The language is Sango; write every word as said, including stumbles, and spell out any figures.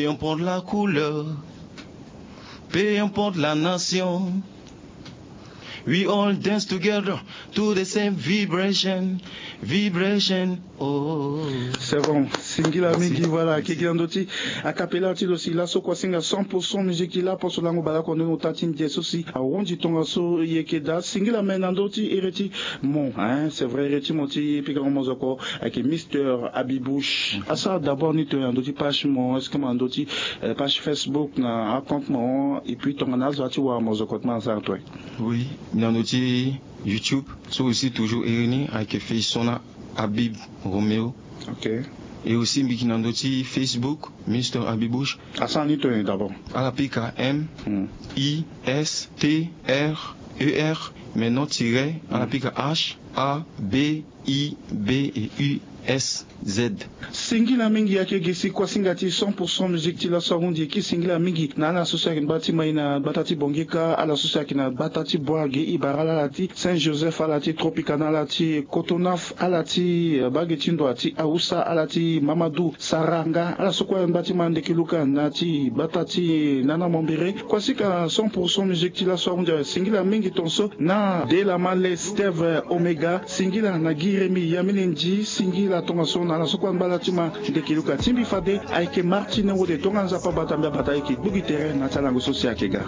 Peu importe la couleur, peu importe la nation, we all dance together to the same vibration, vibration. Oh, c'est bon. Singila mingi. Voilà, kekila ndoti. Akapela ti lo si laso kua singa cent pour cent musique ti lapo so lango bala kua ndoni ota ti ndia so si ahundi tongaso yeke daa. Singila me na ndö ti ere ti mo, hein, c'est vrai, ere ti mo ti pikango mozoko ayeke Mister Abibush. Asara d'abord ni to ya ndö ti page mo, est-ce que ma ndö ti page Facebook na acompte mo? Et puis tongana azo ati wara mozoko ti ma asara to? Oui, na ndö ti YouTube so aussi toujours ere ni ayeke fei sona Abib Romeo. Ok. Et aussi mbi yeke na ndö ti Facebook Mister Abibush. Asara ni to ya d'abord. Ala pika M I S T R E R, maintenant tiret, ala pika H A B I B U S Z. Singila mingi. Ayeke gi si kua singa ti cent pour cent musique ti laso ahundi e ki singila mingi na ala so si ayeke na gbata ti mai na gbata ti bongi kâ, ala so si ayeke na gbata ti bois ge ibaral, ala ti Saint Joseph, ala ti Tropicana, ala ti Cotonaf, ala ti bage ti ndoa ti Awusa, ala ti Mamadou Saranga, ala so kue na gbata ti Mandekeluka na ti gbata ti Nana Mambere. Kua singa cent pour cent musique ti laso ahundi e singila mingi tongaso na Delamale Steve Omega, singila na Gi Remi Yamini Ndi, singila tongaso na ala so kue na gbata ti Mandekeluka. Ti mbi fade ayeke Martine Wode, tongana Nzapa abata mbi abata, ayeke gbu gi tere na ti alango so si ayeke ga.